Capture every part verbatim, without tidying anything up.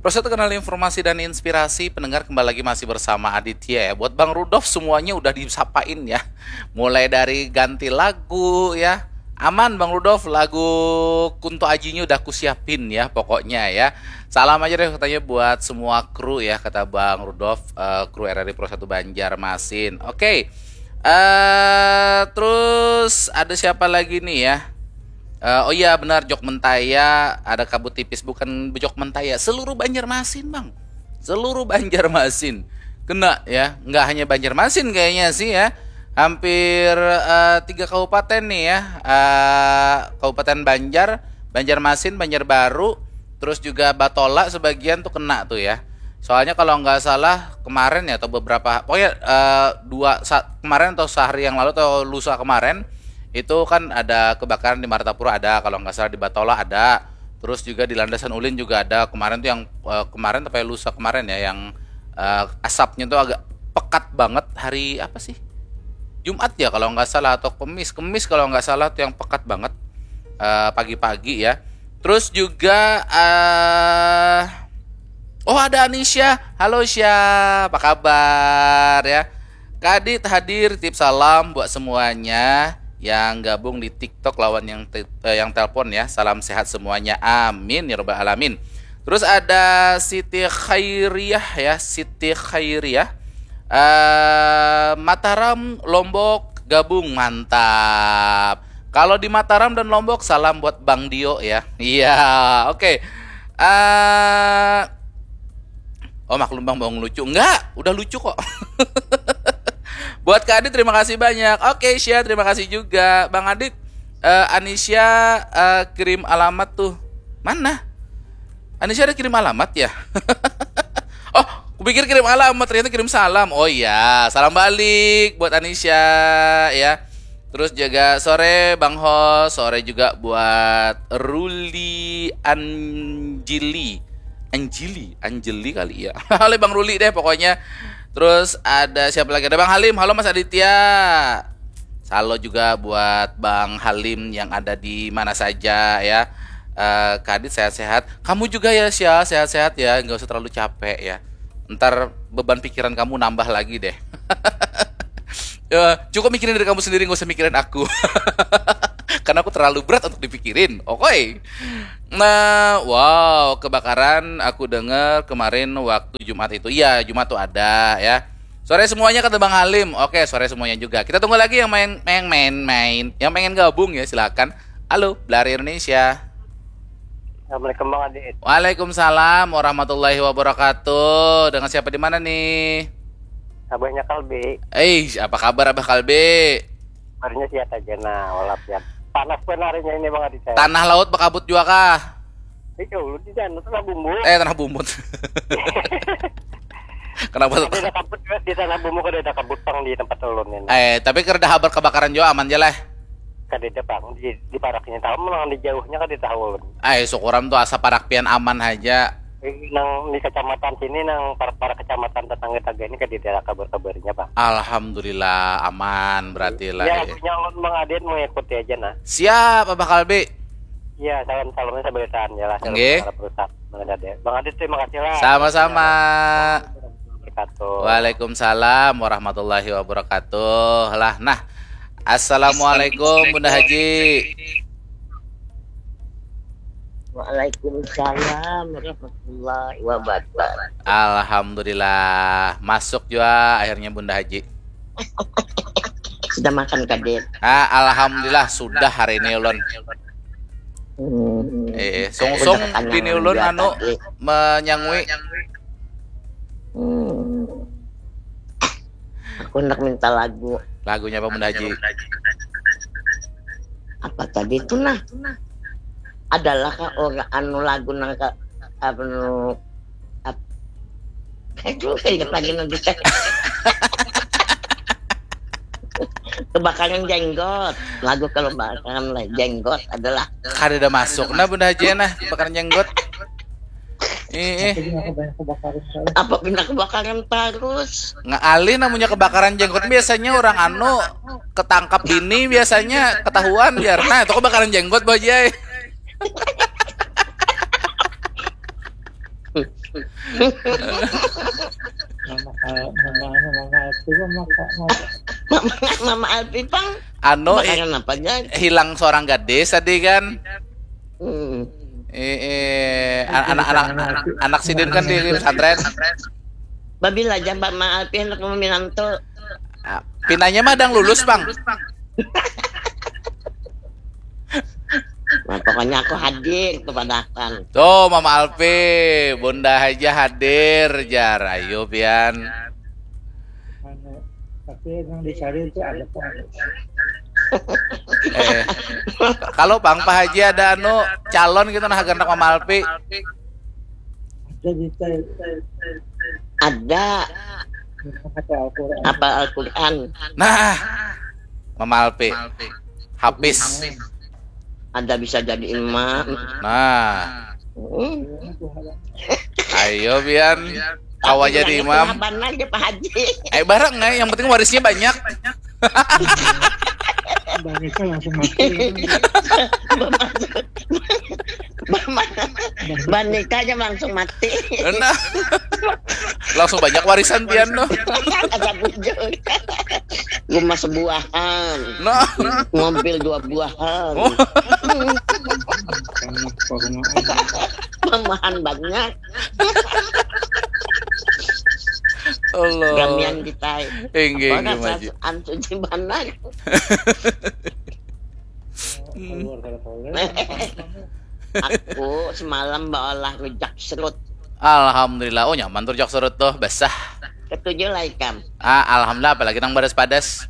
Proses terkenal informasi dan inspirasi, pendengar kembali lagi masih bersama Aditya ya. Buat Bang Rudolf semuanya udah disapain ya. Mulai dari ganti lagu ya. Aman Bang Rudolf, lagu Kunto Ajinya udah kusiapin ya pokoknya ya. Salam aja deh katanya buat semua kru ya, kata Bang Rudolf, eh, kru R R I Pro satu Banjarmasin. Oke. Eh, terus ada siapa lagi nih ya? Eh, oh iya benar, Jok Mentaya, ada kabut tipis, bukan Jok Mentaya, seluruh Banjarmasin, Bang. Seluruh Banjarmasin kena ya, nggak hanya Banjarmasin kayaknya sih ya. Hampir eh, tiga kabupaten nih ya. Eh, Kabupaten Banjar, Banjarmasin, Banjarbaru, terus juga Batola sebagian tuh kena tuh ya. Soalnya kalau nggak salah kemarin ya atau beberapa, pokoknya eh, dua sa- kemarin atau sehari yang lalu atau lusa kemarin itu kan ada kebakaran di Martapura, ada kalau nggak salah di Batola ada, terus juga di Landasan Ulin juga ada kemarin tuh yang eh, kemarin sampai lusa kemarin ya yang eh, asapnya tuh agak pekat banget hari apa sih, Jumat ya kalau nggak salah atau Kemis, Kemis kalau nggak salah tuh yang pekat banget eh, pagi-pagi ya. Terus juga eh oh ada Anisha, halo Sha, apa kabar ya? Kadit hadir, tip salam buat semuanya yang gabung di TikTok lawan yang te- eh, yang telepon ya. Salam sehat semuanya. Amin ya robbal alamin. Terus ada Siti Khairiyah ya, Siti Khairiyah. Eh Mataram Lombok gabung, mantap. Kalau di Mataram dan Lombok salam buat Bang Dio ya. Iya, oke. Eh Oh maklum bang, bang lucu. Enggak, udah lucu kok. Buat Kak Adit terima kasih banyak. Oke Sya, terima kasih juga. Bang Adit, eh, Anisha eh, kirim alamat tuh. Mana? Anisha ada kirim alamat ya? Oh, kupikir kirim alamat, ternyata kirim salam. Oh iya, salam balik buat Anisha ya. Terus juga sore Bang Hos, sore juga buat Ruli Anjili. Anjili, Anjili kali ya. Oleh Bang Ruli deh pokoknya. Terus ada siapa lagi? Ada Bang Halim. Halo Mas Aditya. Halo juga buat Bang Halim yang ada di mana saja ya. Eh, Kadit sehat-sehat. Kamu juga ya Sya, sehat-sehat ya. Nggak usah terlalu capek ya. Ntar beban pikiran kamu nambah lagi deh. Ya, cukup mikirin diri kamu sendiri, nggak usah mikirin aku. Karena aku terlalu berat untuk dipikirin. Oke. Nah, wow, kebakaran aku dengar kemarin waktu Jumat itu. Iya, Jumat tuh ada ya. Sore semuanya kata Bang Halim. Oke, sore semuanya juga. Kita tunggu lagi yang main main main main. Yang pengen gabung ya silakan. Halo, Belari Indonesia. Assalamualaikum Bang Adit. Waalaikumsalam warahmatullahi wabarakatuh. Dengan siapa di mana nih? Abahnya Kalbi. Eh, apa kabar Abah Kalbi? Kabarnya sehat aja nah, walap ya. Panas pun harinya ini Bang Adit. Tanah laut bakabut juga kah? Iya, ulun di sana tanah bumbu. Eh, tanah bumbu. Kenapa tuh? Ada kabut di tanah bumbu, kada ada kabut pang di tempat ulun ini. Eh, tapi kada habar kebakaran juga aman aja lah. Kadada pang di, di paraknya tahu, menang di jauhnya kada tahu ulun. Ai, syukuram tu asa parak pian aman haja. Eh, nang di kecamatan sini, nang parak-parak kecamatan tetangga taga ini kadada kabar-kabarnya pang. Alhamdulillah aman berarti lah. Ya, eh. Lagunya ulun mengadian mengikuti aja nah. Siap Abah Kalbi. Iya, salam salamnya seberitaan ya lah. Oke. Bang Adit terima kasih lah. Sama-sama. Waalaikumsalam warahmatullahi wabarakatuh. Lah, nah. Assalamualaikum Bunda Haji. Waalaikumsalam warahmatullahi wabarakatuh. Alhamdulillah, masuk juga akhirnya Bunda Haji. Sudah makan kadit? Ah, alhamdulillah sudah hari ini ulun. Hmm. Eh, sungsung bini ulun anu menyangui. Hmm. Aku hendak minta lagu. Lagunya apa Bunda Haji? Apa tadi itu nah? Adalah kah orang anu lagu nang ka, anu ap, itu ingat lagi nanti. Kebakaran jenggot. Lagu kebakaran jenggot adalah. Kada ada masuk nah Bunda Haji nah kebakaran jenggot. Eh, eh. Apa pindah kebakaran terus? Ngalih namanya kebakaran jenggot biasanya orang anu ketangkap ini biasanya ketahuan biar nah itu kebakaran jenggot bajai. Mama, mama, mama, mama, mama, mama, Mama, Mama Alpi pang. Anu, eh, makanan apa aja? Hilang seorang gadis tadi kan. Hmm. Eh, eh, anak-anak anak sidin kan di pesantren. Babila aja Mama Alpi hendak meminantu. Ah, pinanya mah dang lulus, Bang. Nah, pokoknya aku hadir kepadakan. Tuh, Mama Alpi, Bunda aja hadir, jar. Ayo, pian. Tapi yang dicari itu ada apa? Eh, kalau Bang Pak Haji ada anu calon gitu nah gandak Mama Alpi. Ada gitu. Ada. Apa Al-Quran? Apa Al-Quran? Nah, Mama Alpi. Habis. Ada bisa jadi imam. Nah. Hmm. Ayo Bian. Kawa jadi imam. Benar ya Pak Haji. Eh bareng ya, yang penting warisnya banyak. Banyak langsung mati. Banikanya langsung mati. Nah. Langsung banyak warisan pian noh. Asa bujur. Rumah sebuahan. Nah. Mobil dua buahan. Oh. Mamahan banyak. Allah. Gamian kita. Inggih, inggih maju. Antu jimbanan. Aku semalam baolah rujak serut. Alhamdulillah. Oh nyaman tuh rujak serut tuh, basah. Ketujuh lah ikam. Ah, alhamdulillah apalagi nang badas-padas.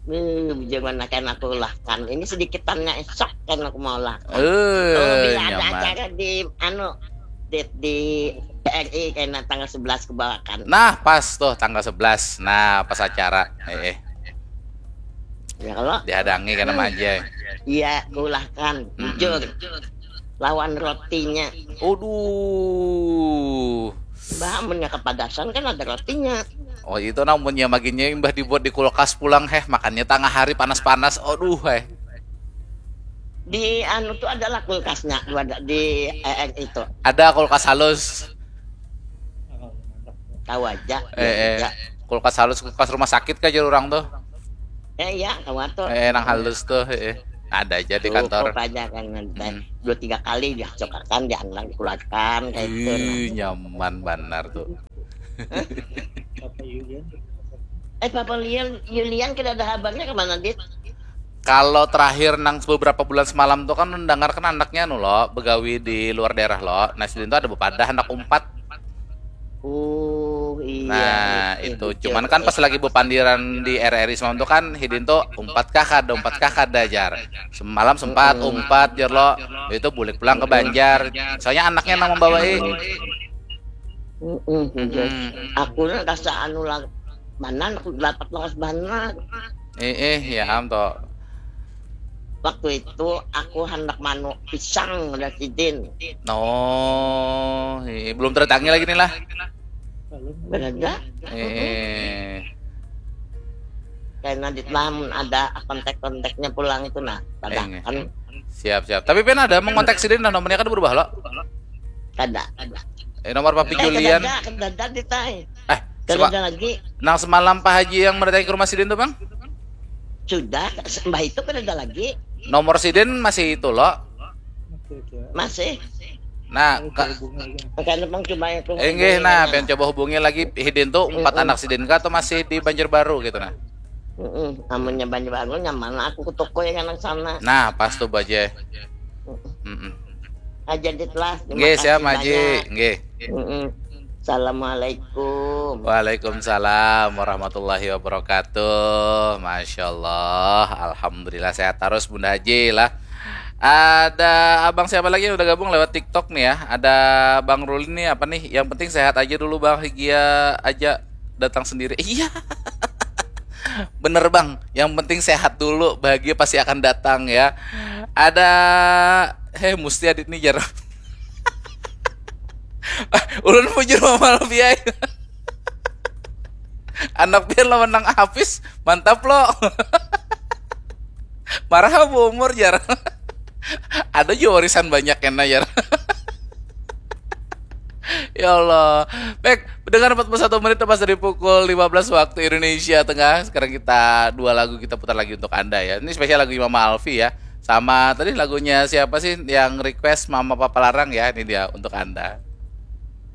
Hmm, jangan akan aku ulahkan. Ini sedikitannya esok kan aku mau ulahkan. Uh, oh, bila nyaman. Ada acara di anu di, di R I kena tanggal sebelas kebawakan. Nah, pas tuh tanggal sebelas. Nah, pas acara. Eh, eh. Ya kalau dihadangi karena hmm. Aja. Iya, kulahkan. Hmm. Jujur. Lawan rotinya. Aduh. Bah, amunnya kepadasan kan ada rotinya. Oh, itu namunnya maginnya imbah dibuat di kulkas pulang heh, makannya tengah hari panas-panas. Aduh, heh. Di anu tuh adalah kulkasnya di E N itu. Ada kulkas halus. Tahu aja. Eh, eh. Kulkas halus kulkas rumah sakit kah jar orang tuh. Eh iya, tahu tuh. Eh, nang halus tuh, eh. Ada aja di kantor. Cukup aja kan nanti. Hmm. Dua tiga kali dihasilkan, dianlang dikeluarkan kayak itu. Ih, nyaman benar tuh. Papa Yulian. Eh Papa Yulian, Yulian kita ada kabarnya kemana, Dit? Kalau terakhir nang beberapa bulan semalam tuh kan mendengarkan anaknya nu lo begawi di luar daerah lo. Nah, sidin tuh ada bepadah anak umpat. Oh iya. Nah, iya, itu iya, cuman kan pas lagi bepandiran di R R I semalam tuh kan hidin tuh umpat kah kada, umpat kah kada jar. Semalam sempat mm -mm. Umpat jar lo. Itu bulik pulang ke Banjar. Soalnya anaknya nang membawai. Mm -mm. Mm -mm. Aku rasa anu lah mana aku dapat lawas banget. Eh, eh, ya am toh. Waktu itu aku hendak manuk pisang ada sidin. Oh, eh, belum tertangi lagi nih lah. Berada. Eh. Karena di lamun ada kontak-kontaknya pulang itu nah, padahkan. Eh, siap siap. Tapi pen ada mau kontak sidin nah nomornya kan berubah lo. Kada. Eh nomor Papi Julian. Kada, kada, kada, Eh, Kada ada lagi. Nang semalam Pak Haji yang mendatangi ke rumah sidin tuh, Bang? Sudah, sembah itu kan ada lagi. Nomor sidin masih itu lo. Masih. Nah, ka... Makanya bang coba itu. Enggih, nah, pengen coba hubungi lagi hidin tuh empat anak sidin kah atau masih di Banjarbaru gitu nah. Mm-mm. Amunnya Banjarbaru nyaman aku ke toko yang anak sana. Nah, pas tuh baje. Mm-mm. Aja dit lah. Nggih, siap Maji. Nggih. Assalamualaikum. Waalaikumsalam warahmatullahi wabarakatuh. Masya Allah, alhamdulillah sehat terus Bunda Haji lah. Ada abang siapa lagi yang udah gabung lewat TikTok nih ya? Ada Bang Ruli nih apa nih? Yang penting sehat aja dulu Bang Higia aja datang sendiri. Iya. Bener bang, yang penting sehat dulu, bahagia pasti akan datang ya. Ada, heh, musti adit nih jar. Ulun bujur mamal biaya. Anak pian lawan nang Hafiz, mantap lo. Marah bu umur jar. Ada juga warisan banyak kena jar. Ya Allah. Baik, dengan empat puluh satu menit lepas dari pukul lima belas waktu Indonesia Tengah, sekarang kita dua lagu kita putar lagi untuk Anda ya. Ini spesial lagu Mama Alfi ya. Sama tadi lagunya siapa sih yang request Mama Papa Larang ya? Ini dia untuk Anda.